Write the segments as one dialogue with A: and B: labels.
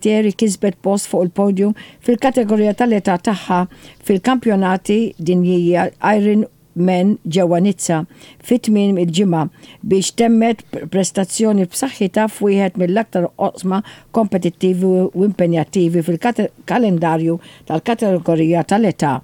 A: Spiteri kisbet post fuq il-podium fil-kategorija tal-età tagħha fil-Kampjonati Dinjija Iron Man ġewwa Nizza fi tmiem il-ġimgħa biex temmet prestazzjoni b'saħħitha f'wieħed mill-aktar oqsma kompetittivi u impenjattivi fil-kalendarju tal-kategorija tal-età.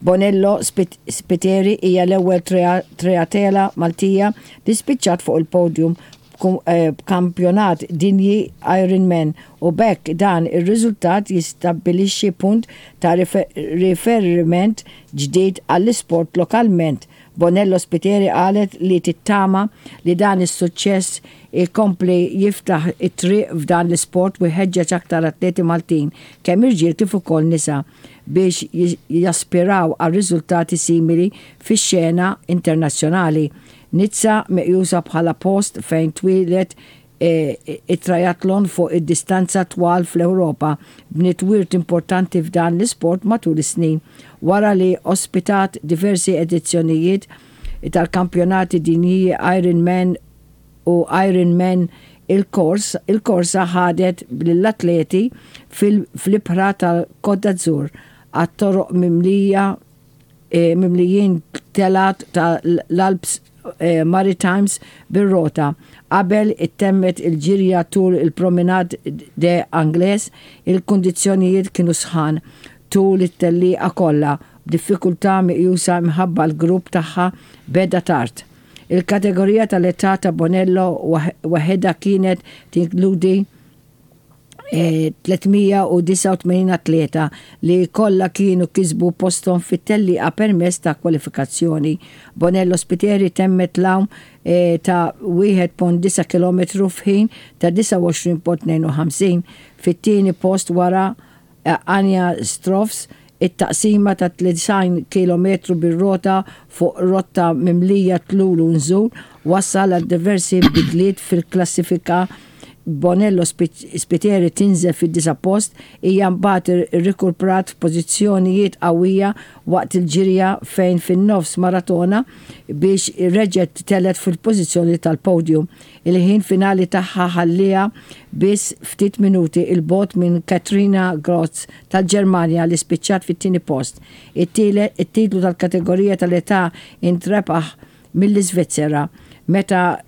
A: Bonello Spiteri hija l-ewwel triatela Maltija li spiċċat fuq il-podium b'kampjonat dinji Ironman u b'hekk dan ir-riżultat jistabbilixxi punt ta' riferiment ġdid għall-isport lokalment. Bonello Spiteri qalet li tittama li dan is-suċċess ikompli jiftaħ it-triq f'dan l-isport u jħeġġeġ aktar atleti Maltin, kemm irġiel kif ukoll nisa, biex jaspiraw għal riżultati simili fix-xena internazzjonali. Nizza meqjusa bħala post fejn twieled it-triathlon fuq id-distanza twal fl-Ewropa, bniet wirt importanti f'dan l-isport matul is-snin, wara li ospitat diversi edizzjonijiet tal-Kampjonati Dinjiji Ironman u Ironman Il-kors, il-korsa ħadet lill-atleti fl-ibħra tal-Côte d'Azur għat-toroq mimlija mimlijin telgħat ta' l-Alps Maritimes bir-rota. Qabel ittemmet il-ġirja tul il-Promenade des Anglais, il-kundizzjonijiet kienu sħan tul it-tellieqa kollha, b'diffikultà meqjusa minħabba l-grupp tagħha beda tard. Il-kategorija tal-età ta' Bonello waħedha kienet tinkludi 389 atleta li kollha kienu kisbu posthom fit-tellieqa permezz ta' kwalifikazzjoni. Bonello Spiteri temmet l-għawm ta' 1.9 kilometru f'ħin ta' 29.52 fit-tieni post wara Anja Stroffs, it-taqsima ta' 90 kilometru bir-rota fuq rotta mimlija tlul u nżul wassal għal diversi bidliet fil-klassifika b'Bonello Spiteri tinżel fid-disa' post, hija mbagħad irrikurprat f'pożizzjonijiet qawwija waqt il-ġirja fejn fin-nofs maratona biex reġgħet telgħet fil-pożizzjoni tal-podium. Il-ħin finali tagħha ħallieha biss ftit minuti 'l bogħod minn Katrina Grotz tal-Ġermanja li spiċċat fit-tieni post. It-titlu tal-kategorija tal-età intrebaħ mill-Iżvizzera. Meta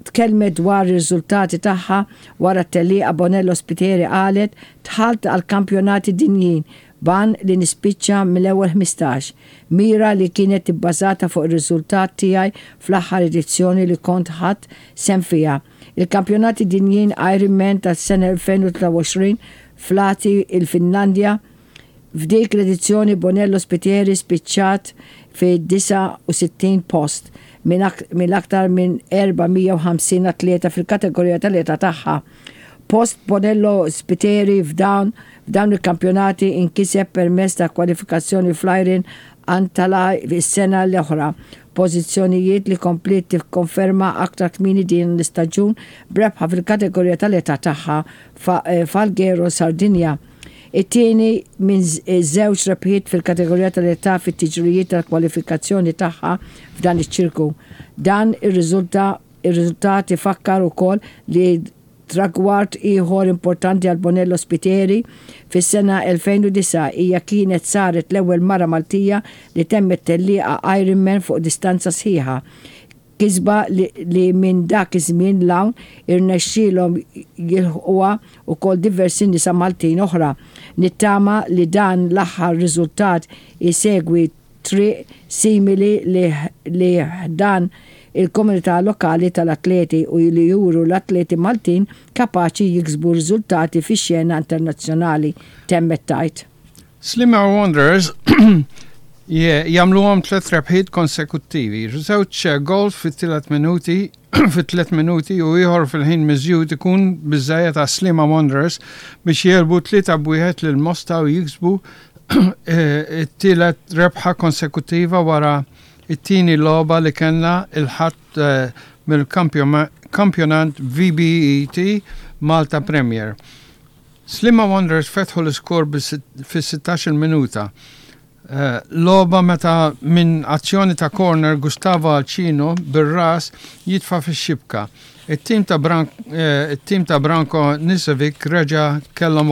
A: tkellmet dwar ir-riżultati tagħha wara t-tellieqa Bonello Spiteri qalet, Dħalt għall-Kampjonati Dinjin b'għan li nispiċċa mill-ewwel 15, mira li kienet ibbażata fuq ir-riżultat tiegħi fl-aħħar edizzjoni li kont ħadt sehem fiha, il-Kampjonati Dinjin Ironman tas-sena 2023 f'Lahti, il-Finlandja. F'dik l-edizzjoni Bonello Spiteri spiċċat fid-69 post minn aktar minn 450 atleta fil-kategorija tal-età tagħha. Post Bonello Spiteri f'dawn f'dawn il-kampjonati inkiseb permezz ta' kwalifikazzjoni fl-Iron Antalya is-sena l-oħra, pożizzjonijiet li kompliet tikkonferma aktar kmieni din l-istaġun b'rebħa fil-kategorija tal-età tagħha f'Alghero, Sardinja. It-tieni minn żewġ rebħiet fil-kategorija tal-età fit-tiġrijiet tal-kwalifikazzjoni tagħha f'dan iċ-ċirku. Dan ir-riżulta Ir-riżultat ifakkar ukoll li tragward ieħor importanti għal Bonello Spiteri, fis-sena 2009 hija kienet saret l-ewwel mara Maltija li temmet tellieqa Ironman fuq distanza sħiħa, kisba li minn dak iż-żmien 'l hawn irnexxielhom jilħquha wkoll diversi nisa Maltin oħra. Nittama li dan l-aħħar riżultat isegwi triq simili li ħdan il-komunità lokali tal-atleti u li juru l-atleti Maltin kapaċi jiksbu riżultati fix-xena internazzjonali, temmet tgħid.
B: Sliema Wanderers jagħmluhom tliet rebħiet konsekuttivi, żewġ goals fit-tielet minuti fi tliet minuti u ieħor fil-ħin miżjud ikun biżżejjed għas-Sliema Wanderers biex jegħlbu 3-1 lil Mosta u jiksbu it-tielet rebħa konsekuttiva wara t-tieni logħba li kellna il-Ħadd mill-kampjonat VBET Malta Premier. Sliema Wanderers fetħu l-iskor fis-16-il minuta. Logħba meta minn azzjoni ta' corner Gustavo Alcino bir-ras jitfa' fix-xibka. It-tim ta' it-tim ta' Branko Nisevic reġa' kellhom